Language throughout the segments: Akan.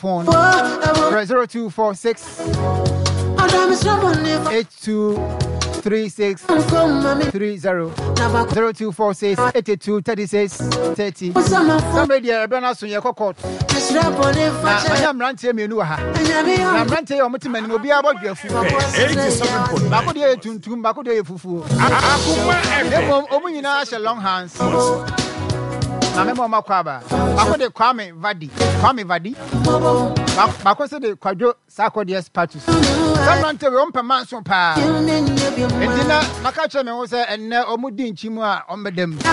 phone. 0246 8236 30 0246 82 36 30. Somebody deɛ ɛbɛn aso yɛ kɔ court. Na manya mmeranteɛ mmienu wɔ ha. Na mmeranteɛ yi a wɔte m'anim obiara bɔ dwafu. Baako deɛ yɛ tuntum, baako deɛ yɛ fufuo. Na mmom wɔn nyinaa hyɛ long hands. Na mema wɔn akɔ aba. Baako de Kwame Vadi, Kwame Vadi. Baako nso de Kwadwo Sarkodie Patus. Saa mmeranteɛ wei wɔmpɛ manso paa. Enti na maka kyerɛ me ho sɛ ɛnnɛ wɔn di nkyi mu a wɔbɛda mu. Wo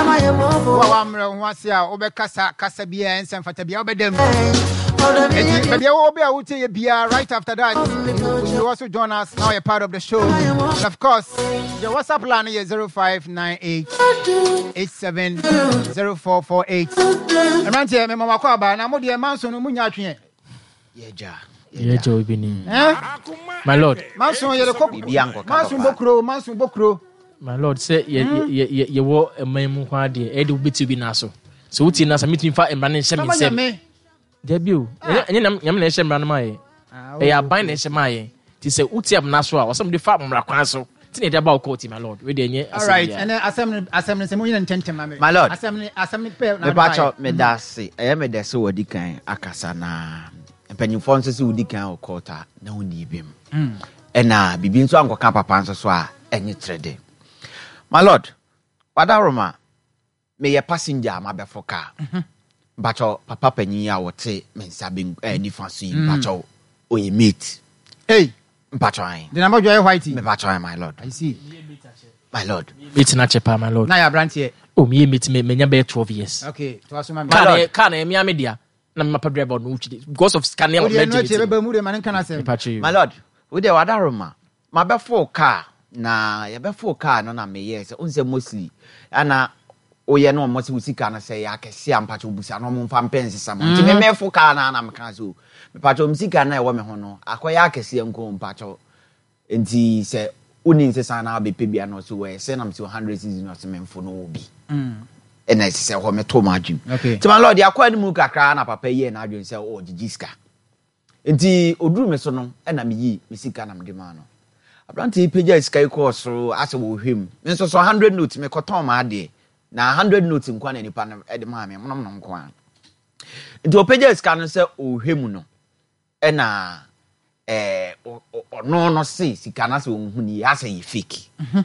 a woammrɛ wo ho ase a wobɛkasa kasa biara ɛnsɛ mfata biara wobɛda mu. Enti baabi a wɔwɔ bi a wotie yɛ biara right after that you, you also join us now you're part of the show. And of course your WhatsApp line is 0598 870448. Mmeranteɛ mema wakɔ aba na mo deɛ manso no munya atweɛ. Yɛgya. Yɛgya obi ni. Eh? My lord. Manso yɛde kɔ. Manso bokuro, manso bokuro. My lord, sɛ yɛ hmm? yɛ yɛ yɛwɔ ɛman mu kwan deɛ ɛyɛ de wobɛti obi nan so. Sɛ wotie nan so metumi fa mmara no nhyɛ me nsam. Dabi o, ah. ɛnyɛ nyame na ɛhyɛ mmara no ma yɛ. Ah, ɛyɛ aban na ɛhyɛ ma yɛ. Nti sɛ wotie amena so a, ɔsɛ mede fa mmara kwan so. Ti na yɛde aba wo court, my lord. Wei deɛ ɛnyɛ asɛm biara. Alright, ɛnɛ asɛm no asɛm no sɛ mo nyina ntɛntɛm ma me. My lord. Asɛm no asɛm no pɛ na Mepa kyɛw meda ase. Ɛyɛ me dɛ sɛ wɔdi kan akasa na mpanyinfoɔ nso sɛ wodi kan wɔ court a na wonni bem. Ɛna biribi nso ankɔka papa nso so a ɛnye kyerɛ de. My lord, Wadaroma, Meyɛ passenger a mabɛfo car. Mpakyɛw papa panyin yi a ɔte me nsa ben eh, nifa so yi mpakyɛw ɔyɛ mate. Hey. Mpakyɛw ahen. De na bɔdwa yɛ white. Mepakyɛw ahen my lord. I see. My lord. Mate na kyɛ paa my lord. Na yɛ abranteɛ. Oh meyɛ mate me menya bɛyɛ 12 years. Okay, to aso ma me. Car na car na ɛmea me dea. Na me mapa driver no wotwi because of sika ne ɔmɛ gyeme ti. Wode ɛbɛba mu de ma ne nka n'asɛm. Mepakyɛw yi. My lord, wo deɛ wadaroma. Mabɛfow car na yɛbɛfow car no na meyɛɛ sɛ wohu sɛ mostly ana woyɛ na wɔn sɛ wo sika no sɛ ɛyɛ akɛse a mpakyɛ wobusa na wɔn mfa mpɛ nsesa ma nti me mɛfo car no na meka sɛ o mepakyɛ wɔn sika no a ɛwɔ me ho no akɔyɛ akɛseɛ nko mpakyɛ nti sɛ wonni nsesa na wabɛpɛ bi a na ɔsɛ wɔ ɛsɛ na mesɛ 100 cedis na ɔsɛ memfo no wɔ bi ɛna ɛsɛ sɛ hɔ meto m'adwene nti ma lord akɔ anim kakra na papa yi yɛ n'adwene sɛ ɔgyegye sika Nti ɔduruu me so no na meyii me sika na mede maa no. Aberanteɛ yi pagyaa sika yi kɔɔ soro asɛ ɔrehwɛ mu. Me nso so hundred note mekɔtɔn m'adeɛ na hundred note nko na nipa no de maa me monom no nko ara. Nti ɔpagyaa sika no sɛ ɔrehwɛ mu no ɛna ɛɛ ɔno no se sika no asɛ ɔnhu no yie asɛ yɛ fake. Mhm.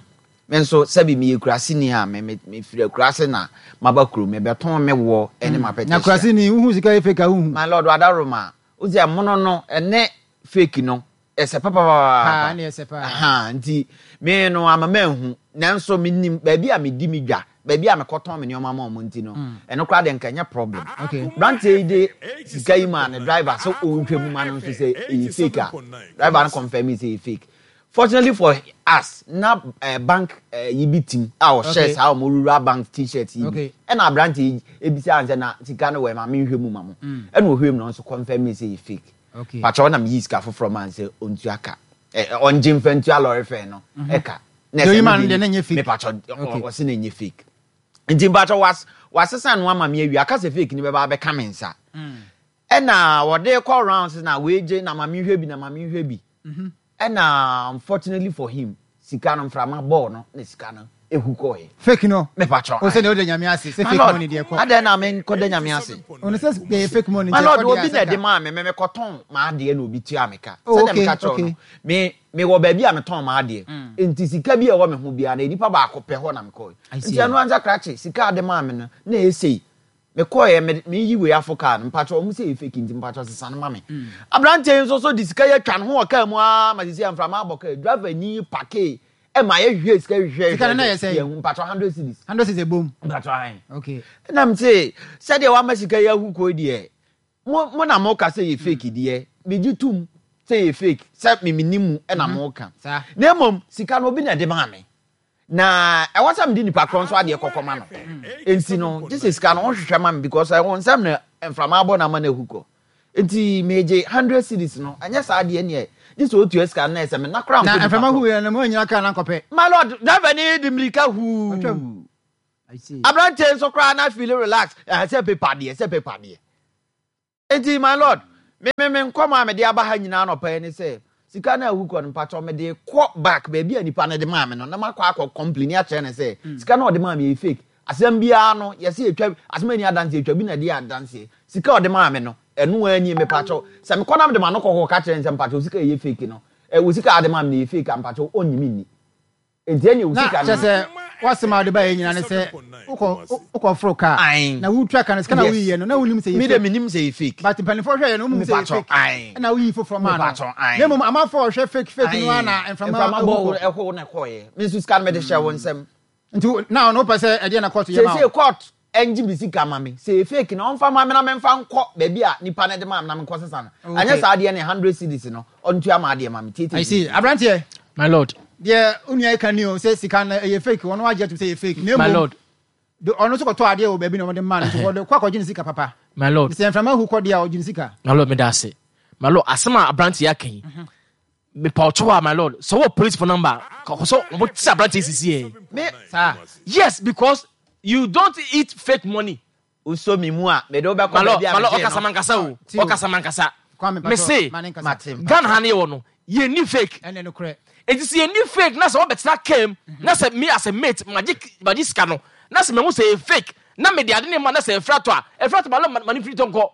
Me nso sɛbi meyɛ kuraseni a me me mefiri akurase na maba kurom mebɛtɔn me woɔ ne mm. m'apɛtɛhyia. Na kuraseni wohu sika yɛ fake a wohu. My lord wadaroma wosi ɛmono no ɛne fake no ɛsɛ papapaapa. Ne ɛsɛ paa. Aha nti me no ama manhu nanso menim baabi a medi me dwa baabi a mekɔtɔn me nneɛma ma ɔmo nti no mm. ɛno koraa deɛ nka ɛnyɛ problem. Okay. Branteɛ yi de sika yi maa ne driver sɛ ɔnhwɛ mu ma no nso sɛ ɛyɛ fake a driver no confirm sɛ ɛyɛ fake. Fortunately for us, na eh, bank eh, yi bi tim a ɔhyɛ Okay. saa ɔmo rural bank t-shirt yi bi. Okay. Ɛna aberante yi ebisa sɛ na sika no wɔ ma menhwɛ mu ma mo. Ɛna ɔhwɛ mu na ɔnso confirm me sɛ yɛ fake. Okay. Pakyɛ ɔnam yi sika foforɔ maa no sɛ ɔntua ka. Eh, eh, ɔngye mfa ntua lɔre fare no ɛka. Na Deɛ ɛsɛ oyi me maa no deɛ deɛ na ɛnyɛ fake. Me pakyɛ Okay. ɔse na ɛnyɛ fake. Nti mpakyɛ was wasesa no ama me awie aka sɛ fake no bɛba abɛka me nsa. Ɛna wɔde kɔ rounds na wei gye na ma menhwɛ bi na ma menhwɛ bi. Ɛna unfortunately for him, sika no mframa bɔɔ no na sika no ehu kɔɔɛ. Fake no. Mepakyɛw. O sɛ deɛ ɔda nyame ase sɛ My fake lord, money deɛ kɔ. adɛn na menkɔda nyame ase? Ɔno sɛ ɛyɛ fake money My nti lord, ɛkɔ deɛ obi na asɛ ɛde ka. maa me, me mekɔtɔn m'adeɛ na obi tua me ka. Oh, Sɛdeɛ okay, meka kyerɛ wo no, okay. me mewɔ baabi a metɔn m'adeɛ. Nti sika bi a ɛwɔ me ho biara no, nipa baako pɛ hɔ na mekɔe. I see. Nti ɛno ansa krakye, sika a ɔde maa me no, na ɛyɛ sei. Mekɔeɛ, me meyi wei afo kaa no, mpakyɛw ɔmo sɛ ɛyɛ fake nti mpakyɛw sesa no ma me. Aberanteɛ yi nso so de sika yi atwa ne ho wɔ kaa mu aa ma sisi a mframa abɔ kaa yi, driver ni pakee ɛma yɛhwehwɛɛ sika hwehwɛɛ Sika no na ɛyɛ hwehwɛɛ sɛn? yɛnhu, mpakyɛw 100 cedis. 100 cedis ɛbom? Mpakyɛw ahe. Okay. Ɛna mese sɛdeɛ wama sika yi ahu kɔ yi deɛ, mo mo na moka sɛ ɛyɛ fake deɛ, megye tom sɛ ɛyɛ fake, sɛ me mennim mu ɛna moka. Saa. Na mmom sika no obi na ɛde maa me. Na ɛwɔ sɛ mede nipa korɔ nso adeɛ kɔkɔ ma no. Nti no, gye sɛ sika no wohwehwɛ ma me because ɛwɔ nsɛm na mframa abɔ no ama no ahu kɔ. Nti megye hundred cedis no, ɛnyɛ saa deɛ neɛ gye sɛ otua sika no na ɛsɛ me na koraa Na nkɔ nipa mframa korɔ. huiɛ no, mo anyina kaa no ankɔpɛ. My lord, driver ni de mmirika huu. Ɔtwam. I see. Aberanteɛ nso koraa na feel relax, ɛhɛ sɛ paper deɛ, sɛ paper deɛ. Enti my lord, Me me me nkɔmɔ a mede aba ha nyinaa anɔpa yi ne sɛ, sika no a ahu kɔ no, mpakyɛw mede kɔ back baabi a nipa no de maa me no na makɔ akɔ complaini akyerɛ no sɛ sika no a ɔde maa me yɛ fake. Asɛm biara no yɛse yɛtwa, asɛm a ɛnni adanseɛ yɛtwa bi na ɛde yɛ adanseɛ. Sika a ɔde maa me no, ɛno ara nie, mepakyɛw. Sɛ mekɔ na mede m'ano kɔ kɔka kyerɛ no sɛ mpakyɛw sika a ɛyɛ fake no, eh, wo sika a wode maa me no ɛyɛ fake a, mpakyɛw ɔnnye me nni. Enti ɛneɛ wo Na sika no kyerɛ sɛ w'asɛm a wode baeɛ nyinaa ne sɛ wokɔ wokɔforo kaa Ae. na wotua ka no sika na Yes. woyiiɛ no na wonim sɛ ɛyɛ Me deɛ fake menim sɛ ɛyɛ fake. but mpanimfoɔ hwɛeɛ no wonim sɛ ɛyɛ Mepakyɛw, fake ae. ɛna woyii foforɔ maa no Mepakyɛw, ae. na mmom amanfoɔ a wɔhwɛ fake fake no ara Ae. na mframa Mframa ahu bɔɔ wo kɔ. ɛhoo na ɛkɔeɛ. Me nso sika no mede hyɛɛ wo nsam. Nti wo- na ɔno wopɛ sɛ ɛdeɛ na court yɛ ma Seesei wo? court ɛngye me sika ma me. Sɛ ɛyɛ fake no ɔmfa ma me na memfa nkɔ baabi a nipa no de maa me na menkɔ sesa no. Anyɛ Okay. saa deɛ ne 100 cedis no ɔntua m'adeɛ ma me. Tietie I me. see. Aberanteɛ. My lord. Deɛ wo nua yi ka ni o, sɛ sika no ɛyɛ fake, ɔno agye atum sɛ ɛyɛ fake. Na My mmom, lord. de ɔno nso kɔtɔ adeɛ wɔ baabi na wɔde maa no, nti wɔde kɔ akɔgye ne sika papa. My lord. Sɛ mframa hu kɔ deɛ a, ɔgye ne sika. My lord, meda ase. My lord, asɛm a aberanteɛ yi aka yi, mepa ɔkyɛw a, my lord, sɛ wɔ police phone number, kɔ sɛ wɔn ti aberanteɛ yi sisi yɛ. Me, Saa. Yes, because you don't eat fake money. Wosɔ me mu a, mede wo bɛkɔ My lord, baabi a my lord, megyee ɔkasa no. mankasa o, Ti o. ɔkasa mankasa. Kwame, Me mpakyɛw, se, ma ne nkasa. Mate, mpakyɛw. Ghana ha ne yɛwɔ no, yɛnni fake. Ɛnɛ nokorɛ. Enti sɛ yɛnni fake na sɛ wɔbɛtena kaa mu na sɛ me as a mate magye magye sika no na sɛ mahu sɛ ɛyɛ fake na mede ade no ma na sɛ ɛfiri atɔ a, ɛfiri atɔ ma lɔ ma ne mfiri tɔ nkɔ.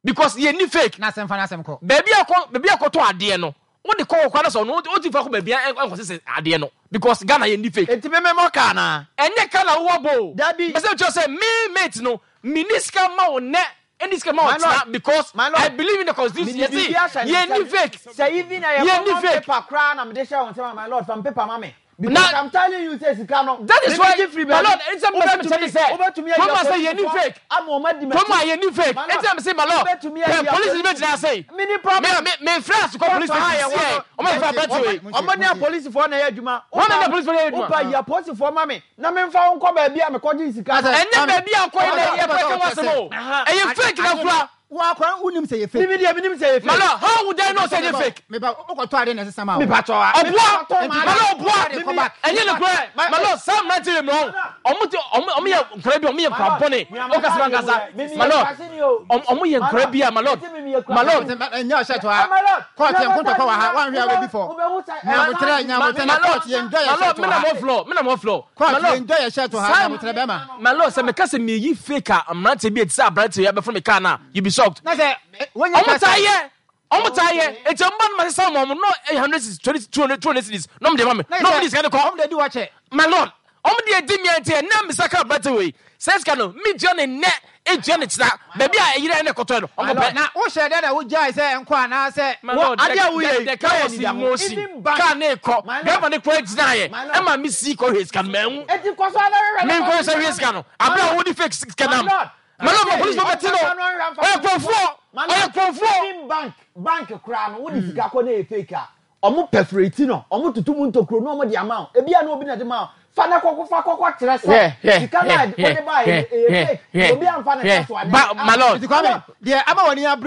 Because yɛnni fake. Na asɛm fa n'asɛm kɔ. Baabi a kɔ baabi a kɔtɔ adeɛ no wode kɔ hɔ koraa na sɛ ɔno ɔntumi fa kɔ baabi a ɛnkɔ sese adeɛ no because Ghana yɛnni fake. Enti me memmɔ ka anaa? Ɛnyɛ ka na wowɔ bɔ o. Dabi. Mepɛ sɛ mekyerɛ wo sɛ me mate no menni sika mma wo nnɛ ɛnni sika mma wo My lord, kyena because my lord, I believe in the constitution mede yɛse biribi ahyɛ ne yɛnni nsam. fake. Sɛ even ɛyɛ Yɛnni common fake. paper koraa na mede hyɛ wo nsam a, my lord, fa me paper ma me. Because Na I'm telling you sɛ sika no, that is why mebegye firi my baabi. lord ɛnti sɛ mepɛ sɛ mekyerɛ ne sɛ Wobɛtumi ayi kurom ha sɛ yɛnni apolisifoɔ fake. ama wɔn adi Kurom ha m'akyi. yɛnni fake. My Ɛnti lord, na mese my lord wobɛtumi pɛ ayi police ni apolisifoɔ. bɛgyina ha sei. Menni problem. Me me mefrɛ asukɔ police Court ha station yɛwɔ sie no, ɔmo mfrɛ aberanteɛ wei. Ɔmo ne apolisifoɔ na ɛyɛ adwuma. Wɔn na ne apolisifoɔ yɛ adwuma. Wopa yi apolisifoɔ ma me na memfa wo nkɔ baabi a mekɔgyee sika no. Ɛnyɛ baabi a ɔkɔyɛ na ɛyɛ fake ho asɛm o. Ɛyɛ fake na kura. Wo akora wonim sɛ ɛyɛ fake. Me deɛ menim sɛ ɛyɛ fake. My lord, how would I know sɛ ɛyɛ fake? Meba wokɔtɔ ade na ɛsesa ma wo. Mepatɔ a. Ɔboa, my lord ɔboa. Ɛnyɛ ne korɛ. My lord, saa mmeranteɛ wei mmerɛ ɔmo te ɔmo ɔmo yɛ nkora bi ɔmo yɛ nkora bɔne. Ɔkasa mankasa. My lord, ɔmo yɛ nkora bi a my lord, my lord. Ɛnyɛ ɔhyɛ to ha. Court yɛn nkontɔkwa wɔ ha. Wanhwɛ a wobɛdi fɔ. Nyabotrɛ nyabotrɛ na court yɛn dwa yɛ hyɛ to ha. My lord, me na mo floor. Court yɛn dwa yɛ hyɛ to ha. Nyabotrɛ bɛma. My lord, sɛ meka sɛ meyi fake a mmeranteɛ bi a ɛte sɛ aberanteɛ yi abɛforo me car no a, you be shocked. Na sɛ wɔnyɛ Ɔmo taa yɛ, ɔmo taa yɛ. Eti ɔmo ba no ma sesa ɔmo ɔmo no 100 cedis, 20, 200, 200 cedis na ɔmo de ma me. Na ɔmo de sika no kɔ. Ɔmo de di wakyɛ. My lord, ɔmo de edi mi nti ɛnɛ misa ka aberanteɛ wei. Sɛ sika no, me ntua ne nnɛ, ntua ne kyena. Baabi a ɛyere ɛna ɛkɔtɔɛ no, ɔnkɔ pɛ. Na wohyɛ dɛ na wogyae sɛ ɛnkɔ anaasɛ. My lord, Adeɛ a woyɛ yi, the car was in motion. Car ne kɔ, driver ne kora gyinaeɛ. Ɛma me si kɔ hwɛ sika no, manhu. Eti kɔ so ara hwehwɛ Me nkɔ sɛ hwɛ sika no. Abere a wode fake sika nam. My lord, ma police bɛte no. Ɔyɛ kurɔfoɔ. Ɔyɛ kurɔfoɔ. Even bank, bank koraa no, wode sika kɔ na ɛyɛ fake a, ɔmo perforate no, ɔmo toto mu ntokuro na ɔmo de ama wo. Ebi a na obi na de ma wo. Fa na kɔkɔ fa kɔkɔ kyerɛ sɛ sika no a wode baeɛ no ɛyɛ fake. Obi amfa ne nsa so anyɛ. My lord. Nti Kwame, deɛ ama w'ani abere.